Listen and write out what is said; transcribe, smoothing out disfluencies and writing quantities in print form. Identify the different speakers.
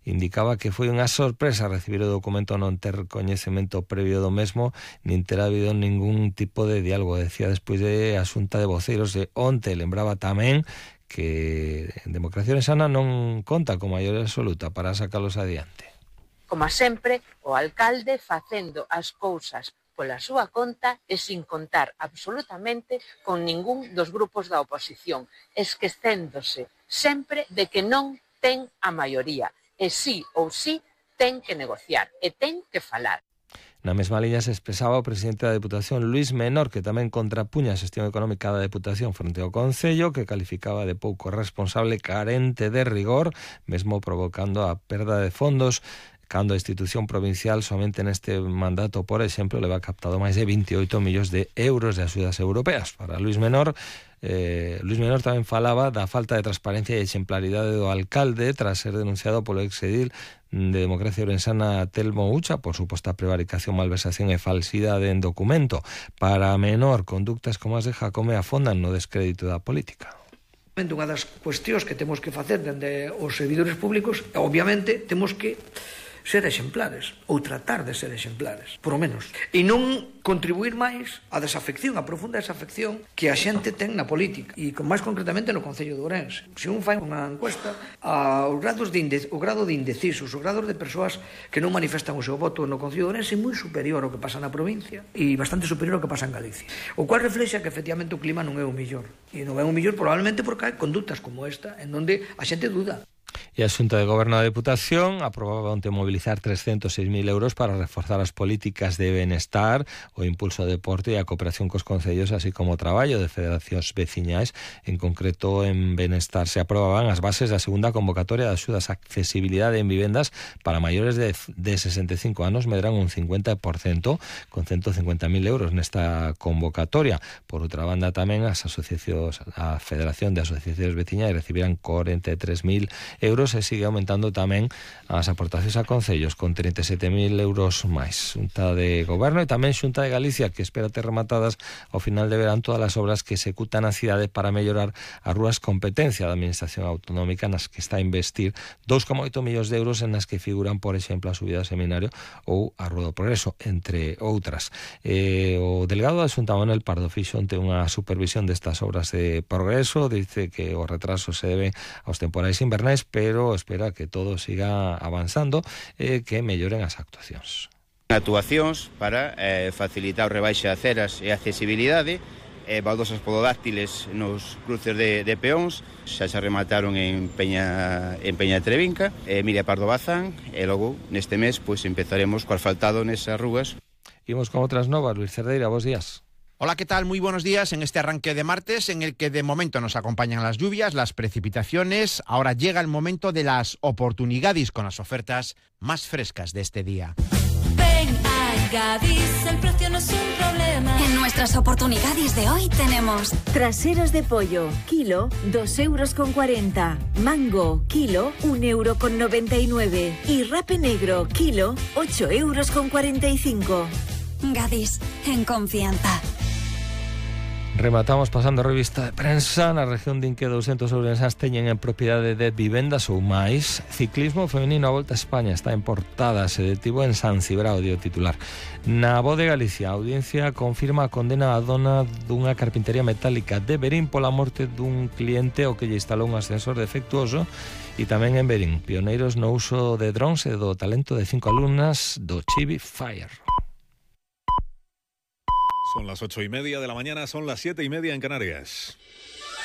Speaker 1: indicaba que foi unha sorpresa recibir o documento, non ter coñecemento previo do mesmo, nin ter habido ningún tipo de diálogo. Decía despois de a xunta de voceiros de onte, lembraba tamén que Democracia Orensana non conta con maioría absoluta para sacalos adiante.
Speaker 2: Como sempre, o alcalde facendo as cousas pola súa conta e sin contar absolutamente con ningún dos grupos da oposición, esquecéndose sempre de que non ten a maioría, e sí ou sí ten que negociar e ten que falar.
Speaker 1: Na mesma liña se expresaba o presidente da Deputación, Luís Menor, que tamén contrapuña a xestión económica da Deputación frente ao Concello, que calificaba de pouco responsable, carente de rigor, mesmo provocando a perda de fondos, cando a institución provincial somente neste mandato, por exemplo, leva captado máis de 28 millóns de euros de axudas europeas. Para Luís Menor tamén falaba da falta de transparencia e exemplaridade do alcalde tras ser denunciado polo exedil de Democracia Orensana Telmo Ucha por suposta prevaricación, malversación e falsidade en documento. Para Menor, conductas como as de Jacome afondan no descrédito da política.
Speaker 3: Unha das cuestións que temos que facer dende os servidores públicos, obviamente, temos que ser exemplares, ou tratar de ser exemplares, por lo menos, e non contribuir máis á desafección, á profunda desafección que a xente ten na política, e máis concretamente no Concello de Ourense. Se un fai unha encuesta, o grado de indecisos, o grado de persoas que non manifestan o seu voto no Concello de Ourense é moi superior ao que pasa na provincia e bastante superior ao que pasa en Galicia, o cual reflexa que efectivamente o clima non é o mellor, e non é o mellor probablemente porque hai conductas como esta en onde a xente duda.
Speaker 1: E a Xunta de Goberno da Deputación aprobaba onte mobilizar 306.000 euros para reforzar as políticas de benestar, o impulso ao deporte e a cooperación cos concellos, así como o traballo de federacións veciñais. En concreto, en benestar se aprobaban as bases da segunda convocatoria de axudas a accesibilidade en vivendas para maiores de 65 anos, medran un 50%, con 150.000 euros nesta convocatoria. Por outra banda, tamén as asociacións, a Federación de Asociacións Veciñais recibirán 43.000 euros e sigue aumentando tamén as aportacións a concellos con 37.000 euros máis. Xunta de Goberno e tamén Xunta de Galicia, que espera ter rematadas ao final de verán todas as obras que executan a cidade para mellorar as rúas competencia da Administración Autonómica, nas que está a investir 2,8 millóns de euros, en as que figuran, por exemplo, a subida do Seminario ou a Rúa do Progreso, entre outras. O delegado da Xunta, Manuel Pardo, fixo onte unha supervisión destas obras de progreso, dice que o retraso se debe aos temporais invernais, pero espera que todo siga avanzando e que melloren as actuacións.
Speaker 4: Actuacións para facilitar o rebaixe de aceras e accesibilidade, baldosas pododáctiles nos cruces de peóns, xa se remataron en Peña Trevinca, Miria Pardo Bazán, e logo neste mes pois empezaremos co asfaltado nesas rúas.
Speaker 1: Imos con outras novas. Luis Cerdeira, bos días.
Speaker 5: Hola, ¿qué tal? Muy buenos días en este arranque de martes en el que de momento nos acompañan las lluvias, las precipitaciones. Ahora llega el momento de las oportunidades con las ofertas más frescas de este día.
Speaker 6: Ven a Gadis, el precio no es un problema. En nuestras oportunidades de hoy tenemos
Speaker 7: traseros de pollo, kilo, 2,40 €. Mango, kilo, 1,99 €. Y rape negro, kilo, 8,45 €.
Speaker 6: Gadis, en confianza.
Speaker 1: Rematamos pasando a revista de prensa. Na región din que 200 ourensás teñen en propiedade de vivendas ou máis. Ciclismo femenino a Volta a España está en portada, se detivo en San Cibrao, dio titular. Na Voz de Galicia, a audiencia confirma a condena a dona dunha carpintería metálica de Verín pola morte dun cliente ao que lle instalou un ascensor defectuoso. E tamén en Verín, pioneiros no uso de drones e do talento de 5 alumnas do Chibi Fire.
Speaker 8: Son las 8:30 de la mañana, son las 7:30 en Canarias.